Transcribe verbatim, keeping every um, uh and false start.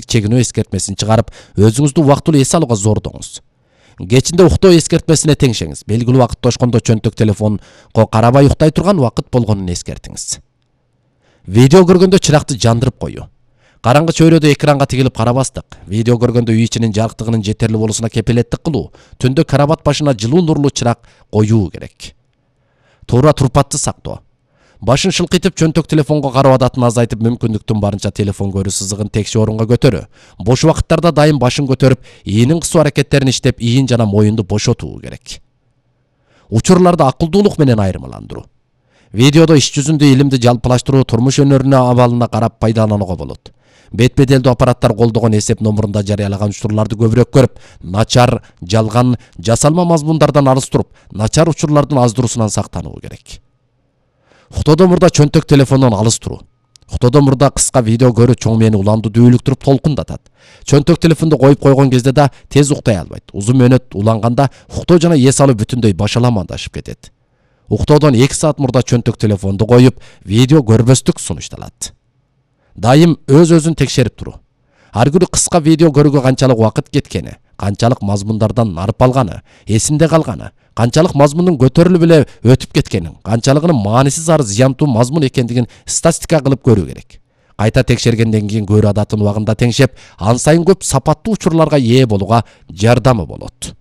чегинүү эскертмесин чыгарып, өзүңүздү убактылуу эс алууга зордоңуз. Кечинде уктоо эскертмесине теңшеңиз. Белгилүү убакытта ошкондо чөнтөк телефонго карабай уктай турган убакыт болгонун эскертиңиз. Видео көргөндө чыракты жандырып коюу. Караңгы чөйрөдө экранга тигилип карабастык. Видео көргөндө үй ичинин жарыктыгынын жетерлик болушуна кепилеттик кылуу. Түндө карабат башына жылуу нурлуу чырак коюу керек. Туура турпатты сактоо. Башын шылкыйтып чөнтөк телефонго кароо адатын азайтып, мүмкүндүктүн барынча телефон көрүү сызыгын текши орунга көтөрүү. Бош убакыттарда дайым башын көтөрүп, ийнин кысуу аракеттерин иштеп, ийин жана моюнду бошотуу керек. Учурларды акылдуулук менен айырмаландыруу. Видеодо иш жүзүндө илимди жалпылаштыруу, турмуш өнөрүнө абалына карап пайдаланууга болот. Бет-беделдүү аппараттар колдогон эсеп номурунда жарыялаган учурларды көбүрөөк көрүп, начар, жалган, жасалма мазмундардан алыс туруп, начар учурлардын аздыруусунан сактануу керек. Уктоодон мурда чөнтөк телефондон алыс туруу. Уктоодон мурда кыска видео көрүү чоң мээни уланды дүүлүктүрүп толкундатат. Чөнтөк телефонду коюп койгон кезде да тез уктай албайт. Узун мөөнөт уланганда уктоо жана эс алуу бүтүндөй башаламандашып кетет. Уктоодон эки саат мурда чөнтөк телефонду коюп, видео көрбөстүк сунушталат. Дайым өз-өзүн текшерип туруу. Ар күнү кыска видео көрүүгө канчалык убакыт кеткени, канчалык мазмундардан нарып алганы, эсинде калганы, канчалык мазмундун көтөрүлүп эле өтүп кеткенин, канчалыгынын маанисиз ары зыянтуу мазмун экендигин статистика кылып көрүү керек. Кайта текшергенден кийин көрүү адатын убагында теңшеп, ан сайын көп сапаттуу учурларга ээ болууга жардамы болот.